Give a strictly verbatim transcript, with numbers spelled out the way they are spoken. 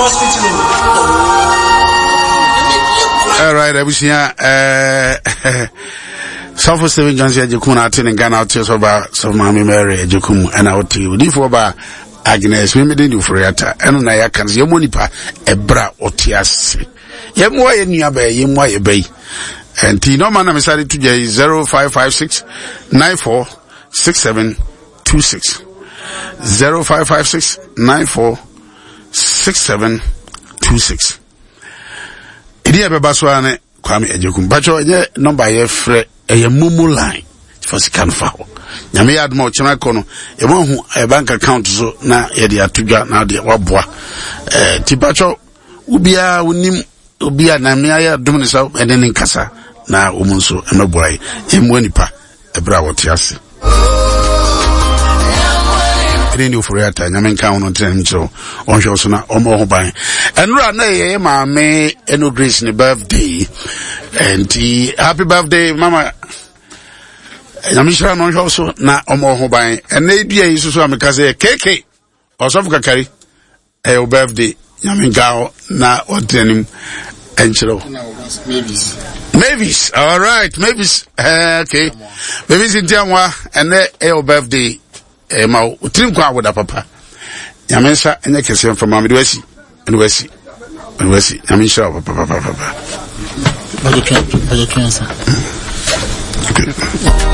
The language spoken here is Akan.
Hospital. All right, abusua eh Sɔfo Stephen Johnson Agyekum na ate ne nka na ɔte sɛ ɔba sɔfo Maame Mary Agyekum ɛna ɔte odiifoɔ ba Agnes Memede ne Ofori-Atta ɛno na yɛaka no sɛ yɛmmɔ nipa ɛberɛ a ɔte ase, yɛmmoa yɛ nua bɛyɛ, yɛmmoa yɛ bɛyi. Nti nɔɔma na mesa de to dwa yi: zero five five six nine four six seven two six, zero five five six nine four six seven two six. Ɛdi a ɛbɛba so ara ne Kwame Agyekum. Patwɛ, ɛnyɛ nɔmba yɛfrɛ, ɛyɛ MoMo line fa sika no fa hɔ. Nyame yɛ adoma, ɔkyena kɔ no yɛma hu ɛyɛ bank account so na yɛde ato dwa na deɛ waboa. ɛɛ nti patwɛ, wobiara wonim obi a na mmea yɛ adom ne sɛ ɛne ne nkasa na wɔn nso mmɛboa yi. Yɛmmoa nipa ɛberɛ a wɔte ase. Ɛne ne Ofori Ata, Nyame nka ho no, ntena nim kyerɛ wo, ɔnhwɛ wo so na ɔmmɔ ho ban. Ɛnora na ɛyɛ maame Ɛno Grace ne birthday, nti happy birthday, mama. Nyame hyira no, ɔnhwɛ wo so na ɔmmɔ ho ban. Ɛnɛ dua yi soso a meka sɛ keke ɔsɔfo Kakari, ɛyɛ wo birthday. Nyame nka hɔ na ɔntena nim ɛnkyerɛ wo. Mavis, all right, Mavis, uh, okay, Mavis nti anwa, ɛnɛ ɛyɛ wo birthday, ɛyɛ ma wo tiri nkwa awoda papa. Nyame nsa ɛnyɛ kɛseɛ mfama mede wasi mede wasi mede wasi. Nyame nhyira wo papapapapa. Bɛgye twɛn nsa. Okay.